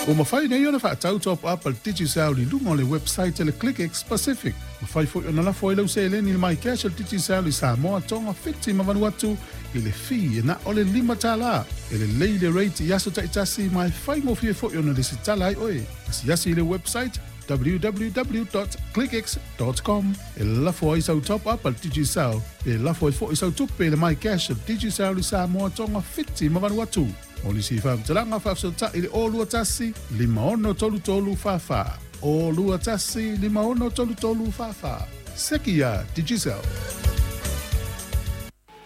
Ua mafai nei ona faatau top up a le Digicel i luga o le website a le ClickX Pacific. Mafai foi ona lafo ai lau seleni i le MyCash a le Digicel i Samoa, Tonga, Fiti ma Vanuatu i le fee e na o le $5. E lelei le rate i aso taitasi ma e faigofie foi ona lesitala ai oe. Asiasi i le website www.clickx.com e lafo ai sau top up a le Digicel pe lafo ai foi sau tupe i le MyCash a le Digicel i Samoa, Tonga, Fiti ma Vanuatu. Mo nisi faamatalaga faafesootai i le 021 5633 44. 021 5633 44. Seki iā Digicel.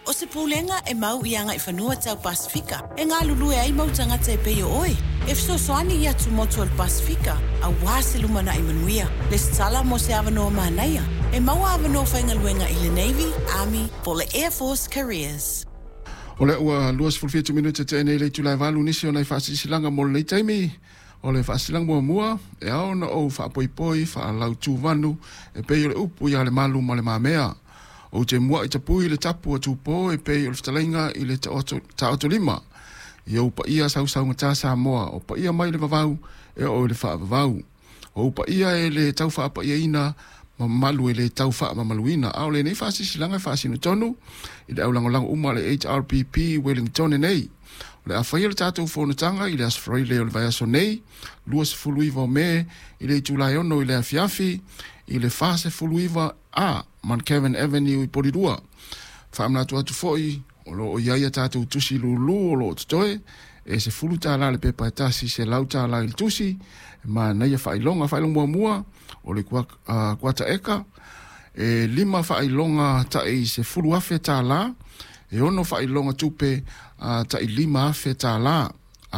O se pulega e mau i agaifanua tau Pasefika e galulue ai mau tagata e pei o oe, e fesoasoani i atumotu o le Pasefika aua se lumanai manuia. Lesitala mo se avanoa manaia e maua avanoa faigaluega i le Navy, Army po o le Air Force Careers. O lea ua 27 minute tea nei le itula e 8 nisi o nai faasilasilaga mo lenei taimi. O le faasilasilaga muamua, e ao ona ou faapoipoi faalautuvanu e pei o le upu ia Lemalu ma Le Mamea. Ou te mua'i tapui le tapu a Tupō e pei o le fetalaiga i le Taotolima. I ou paia sausaugata Samoa, o paia mai le vavau e oo i le faavavau. O ou paia e le tau faapaiaina ma mamalu e le tau faamamaluina. A o lenei faasilasilaga e faasino tonu i le aulagolago uma a le HRPP i Wellingtone nei. O le a faia le tatou fonotaga i le Aso Faraile o le vaiaso nei, 29 o Me, i le itula e 6 i le afiafi, i le 49 A, Mount Kevin Avenue i Porirua. Faamanatu atu foi, o lo o i ai a tatou tusi lūlū o lo o totoe, e $10 le pepa e tasi, $100 i le tusi, e manaia faailoga. Faailoga muamua, o le kuata eka, e 5 faailoga tai $10,000, e 6 faailoga tupe tai $5,000.